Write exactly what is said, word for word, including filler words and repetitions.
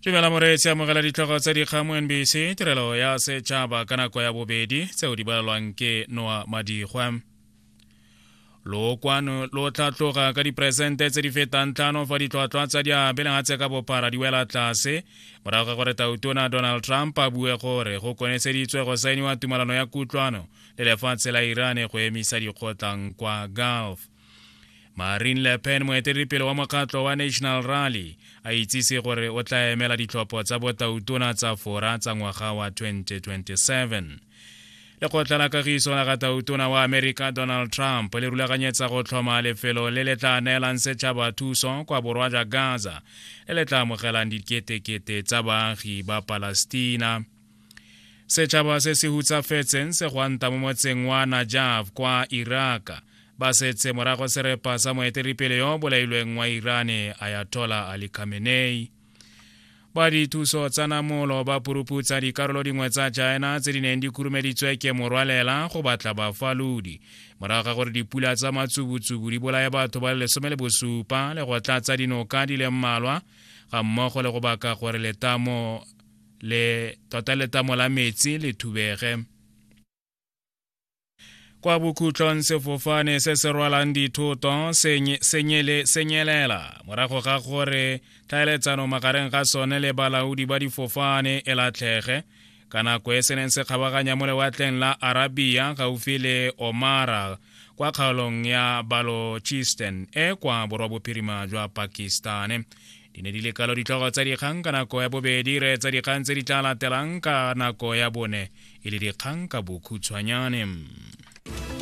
Dumela moreetsi, amogela ditlhogo tsa dikgang mo N B C tirelo ya setšhaba ka nako ya bobedi, tseo di balelwang ke Noa Madigwa. Lokwano lo tla ka diperesente tse di fetang tlhano fa ditlhwatlhwa tsa diabe lehatshe ka bophara di wela tlase morago ga gore tautona Donald Trump a bue gore go koneseditswe go saeniwa tumalano ya kutlwano le lefatshe la Iran go emisa dikgotlang kwa Gulf. Marine Le Pen, moeteledipele wa mokgatlho wa National Rally, a itsise gore o tla emela ditlhopho tsa botautona tsa Fora tsa ngwaga wa twenty twenty-seven. Lekgotla la kagiso la ga tautona wa Amerika Donald Trump le rulaganyetsa go tlhoma lefelo le le tla neelang setšhaba thuso kwa borwa jwa Gaza le le tla amogelang diketekete tsa baagi ba Palestina. Setšhaba se se hutsafetseng se gwanta mo motseng wa Najaf kwa Iraq ba setse morago serepa sa moeteledipele yo bolailweng wa Irane Ayatollah Ali Khamenei. Ba dithuso tsa namolo ba puruputsa dikarolo dingwe tsa China tse di neng di khurumeditswe ke morwalela go batla bafalodi morago ga gore dipula tsa matsubutsubu di bolaye batho ba le lesome le bosupa le go tlatsa dinoka di le mmalwa, ga mmogo le go baka gore letamo le tota letamo la metsi le thubege. Kwa bokhutlong, sefofane se se rwalang dithoto se nyelela morago ga gore tlhaeletsano magareng ga sone le balaodi ba difofane e latlhege ka nako e se neng se kgabaganya mo lewatleng la Arabia gaufi le Omara kwa kgaolong ya Balochistan e kwa borwabophirima jwa Pakistan. Di ne di le kalo ditlhogo tsa dikgang ka nako ya bobedi. Re tsa dikgang tse di tla latelang ka nako ya bone e le dikgang ka bokhutshwanyane.